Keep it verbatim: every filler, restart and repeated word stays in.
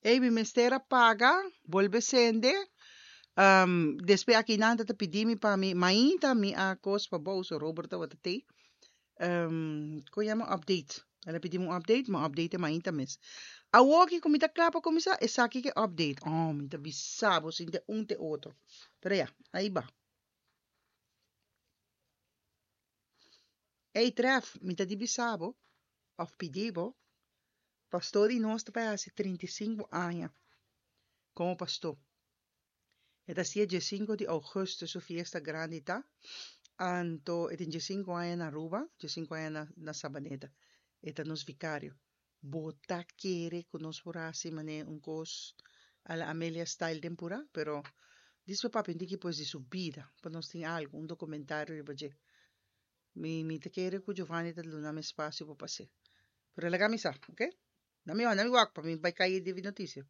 Ey, mi mester a paga, bolbe sende. Um, despues aki nan ta pidi mi pa mi mainta mi a kos pa bou, so Robert tabata tei. Um, kon yama update. El a pidi mi un update, mi a update mainta mes. Awoki ku mi ta kla pa kuminsá, esaki ke update. Oh, mi ta bisa bo sin te un te otro. Pero ya, ahí ba. Ey, Tref, mi ta di bisa bo, of pidi bo, pastor di nos ta bai hasi trinta i sinku aña komo pastor. E ta hasié diesinku di ougùstùs su fiesta grandi ta. Anto e tin diesinku aña na Aruba, diesinku aña na na Sabaneta. E ta nos vikario. Bo ta kere ku nos por hasi manera un kos a la Amelia style den purá? Pero dispe papia un tiki pues di su bida pa nos tin algu, un dokumentario riba dje. Mi mi ta kere ku Giovanni ta duna mi espasio pa pas'é. Pero laga mi sa, oke? Na mi na mi wak pa mi bai kai di notisia.